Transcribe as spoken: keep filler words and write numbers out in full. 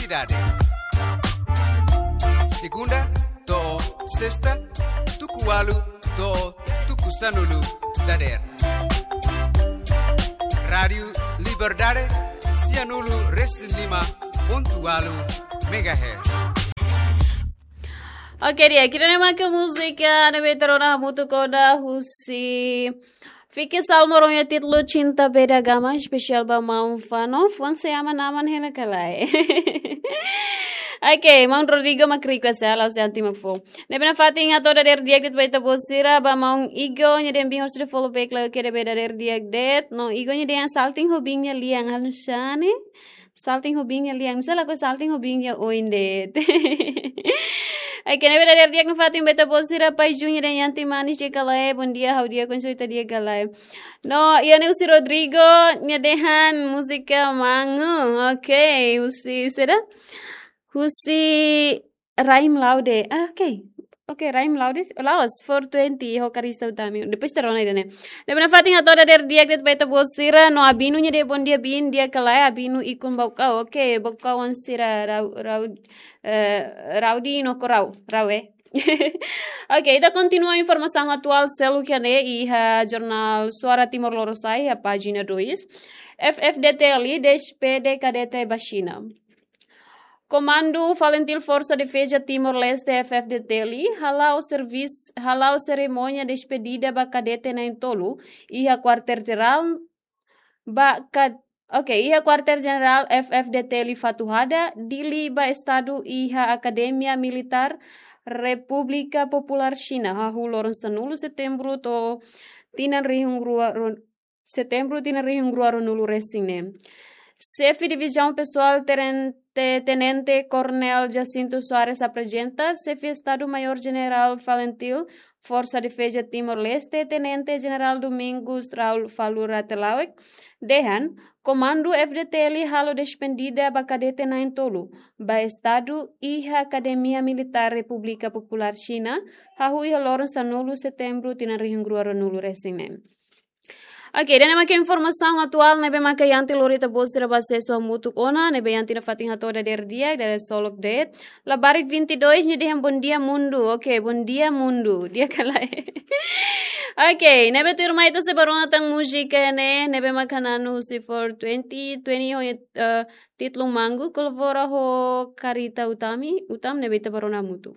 Dade. Segunda to'o sesta, tuku ualu to'o tuku sanulu dadeer. Rádiu Liberdade, sianulu resin lima pontu ualu megahertz. Oke, di'ak, ida-ne'e maka múzika ne'ebé ita rona hamutuk ona husi Fike Salmo, ho nia títulu Cinta Beda Gama, espesiál ba maun Fano, fuan se ama naman hela ka lae. Oke, maun Rodrigo mak request ya, la'ós Yanti mak fó. Ne'ebé nafatin hato'o dadeer di'ak de'it ba ita-boot sira, ba maun Igo, nia dehan biin hosi The Follow Back, la oke, ne'ebé dadeer di'ak de'it, no Igo nia dehan salting ho biin nia lian, halo nu'usá ne'e? Salting ho biin nia lian, misa lakohi salting ho biin nia oin de'it. Oke, ne'ebé dadeer di'ak nafatin ba ita-boot sira, Pai Júnior dehan Yanti manis di'ak ka lae, bondia, ha'u di'ak, konso ita di'ak ka lae. No, iha ne'e husi Rodrigo, nia dehan múzika Mango, oke, husi saida? Husi Raim Laude, ah, oke. Oke, Raim Laude, la'ós, four twenty, ho Karista Utami. Depois ita rona ida-ne'e. Ne'ebé nafatin hato'o dadeer di'ak de'it ba ita-boot sira, no Abinu nia dehan bondia biin, di'ak ka lae, Abinu ikun Baucau, oke, Baucau oan sira rau, rau, eh, rau di no ko rau, rau, eh. Oke, ita kontinua informasaun atuál seluk iha ne'e iha jornál Suara Timor Lorosa'e iha pájina dois. F F D T L despede kadete ba Xina. Komandu Falintil Forsa Defeza Timor-Leste, F F D T L, hala'o servis-, hala'o serimónia despedida ba kadete na'in-tolu iha Kuartél Jerál ba kad-, oke, iha Kuartél Jenerál F F D T L Fatuhada, Dili ba Estadu, iha Akademia Militár Repúblika Populár Xina, hahú loron sanulu Setembru to'o tinan rihun rua ron-, Setembru tinan rihun rua ruanulu resin neen. Xefe Divizaun Pesoál Terente-, Tenente Koronél Jacinto Soares aprezenta, Xefe Estadu Maiór Jenerál Falintil Forsa Defeza Timor-Leste, Tenente Jenerál Domingos Raul Falura Telauek, dehan, Komandu F D T L halo despedida ba kadete na'in-tolu ba Estadu iha Akademia Militár Repúblika Populár Xina, hahú iha loron sanulu Setembru tinan rihun rua ruanulu resin neen. Oke, ida-ne'e maka informasaun atuál ne'ebé maka Yanti lori ita-boot sira ba asesu hamutuk ona, ne'ebé Yanti nafatin hato'o dadeer di'ak, dadeer solok de'it. Labarik vinte e dois nia dehan bondia mundu. Oke, bondia mundu. Di'ak ka lae? Oke, ne'ebé tuirmai ita sei bá rona tan múzika ne'e, ne'ebé maka na'an husi four twenty, twenty ho, eh, títulu Mango, kolabora ho Karista Utami, Utami ne'ebé ita bá rona hamutuk.